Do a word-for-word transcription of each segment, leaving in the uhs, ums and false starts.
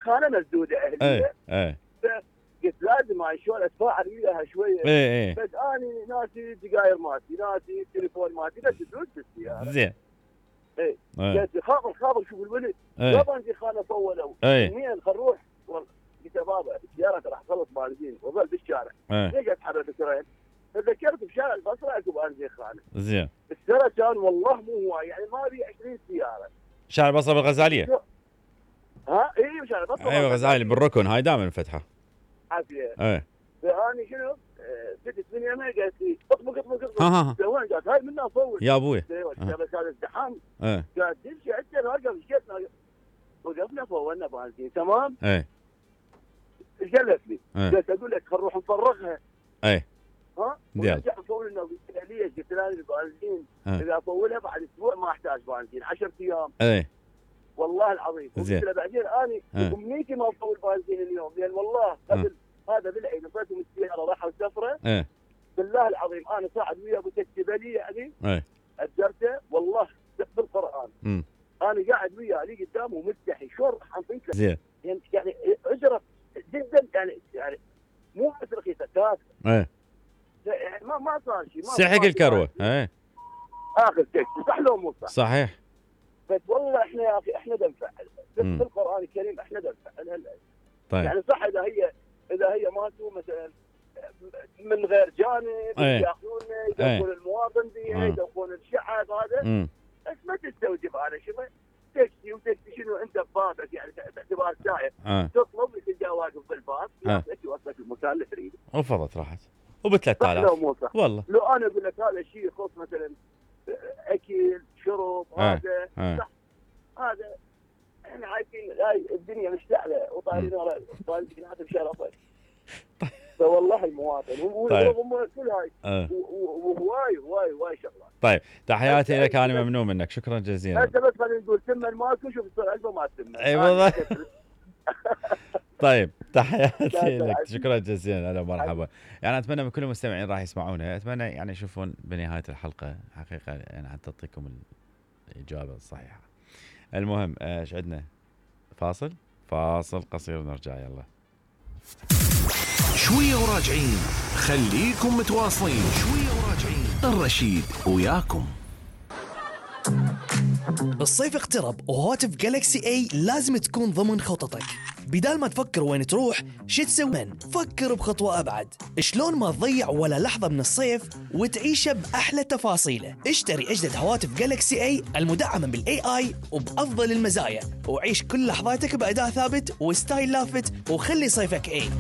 خانه مسدوده اهليه. ايه قلت لازم هاي شلون اتفاعل وياها شويه. ايه ايه بس اني ناسي السجاير مالتي، ناسي التليفون مالتي، ناسي فلوس بالسياره. زين. ايه ايه قلت خابر خابر شوف الولد ايه بابا انت خانه طولوا ايه منين خل نروح. والله قلت يا بابا السياره راح تخلص بنزين وظل بالشارع. ايه ليش اتحرك بسرعه؟ تذكرت بشارع البصره اكو بنزين خانه. زين. السنه كان والله مو هواي يعني ما بي عشرين سياره. شارع البصره بالغزاليه. ها اي شارع البصره. ايوه غزالي بالركن هاي دائما نفتحها. عافيه. ايه فاني شنو بدت من يمين قالت لي اطبق اطبق اطبق. ها ها وين قالت هاي منها صور يا ابوي. بس هذا ازدحام. ايه قالت تمشي عندنا نوقف شقتنا وقفنا فولنا بنزين تمام. ايه قالت لي ايه قالت اقول لك خل نروح نفرغها. ايه ها ونرجع نفول لنا. قلت ليش؟ قلت لها البنزين اذا افولها بعد اسبوع ما احتاج بنزين عشرة ايام. ايه والله العظيم. قلت له بعدين اني امنيتي ما افول بنزين اليوم لان والله قبل هذا بالعين نطيتهم السياره راحوا سفره. ايه بالله العظيم انا صاعد ويا ابو تكتبلي يعني. ايه اجرته والله بالقران. امم انا قاعد وياه لي قدامه ومستحي شلون راح انطيك. زين. يعني يعني اجره جدا يعني يعني مو بس رخيصه كافيه. ايه يعني ما ما صار شيء. سحق الكروه. ايه اخر تكتب صح لو مو صح؟ صحيح. بس والله احنا يا اخي احنا بنفعل بالقران الكريم احنا بنفعل. طيب يعني صح اذا هي اذا هي ماتوا مثلا من غير جانب ياخذونه يدخلون المواطن بيها يدخلون الشعب هذا. بس ما تستوجب هذا شو تكسي وتكسي شنو انت ببابك يعني باعتبار سائق تطلب تلقاه واقف بالباب ياخذك يوصلك المكان اللي تريده. وفضت راحت وب ثلاثة آلاف والله. لو انا اقول لك هذا الشيء يخص مثلا اكل شرب هذا صح. هذا احنا عايشين هاي الدنيا مشتعله وطايرين ورا طايرين هذا بشرفه. فوالله المواطن وهم كل هاي وهواي هواي هواي شغلات. طيب تحياتي لك انا ممنون منك شكرا جزيلا. انت بس خلينا نقول تمن ماكو شوف السؤال علبه ما تمن. اي والله. طيب تحياتي لك شكرا جزيلا. هلا مرحبا. يعني اتمنى من كل المستمعين راح يسمعونا اتمنى يعني يشوفون بنهايه الحلقه حقيقه يعني حتى تعطيكم الاجابه الصحيحه. المهم ايش عندنا؟ فاصل فاصل قصير ونرجع يلا. شويه وراجعين خليكم متواصلين. شويه وراجعين الرشيد وياكم. الصيف اقترب وهواتف جالكسي اي لازم تكون ضمن خططك. بدال ما تفكر وين تروح شو تسوي فكر بخطوة أبعد. شلون ما تضيع ولا لحظة من الصيف وتعيشه بأحلى تفاصيله. اشتري أجدد هواتف جالكسي اي المدعمة بالاي اي وبأفضل المزايا وعيش كل لحظاتك بأداء ثابت وستايل لافت وخلي صيفك اي.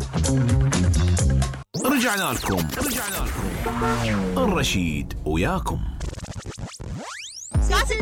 رجعنا لكم رجعنا لكم الرشيد وياكم. ساسي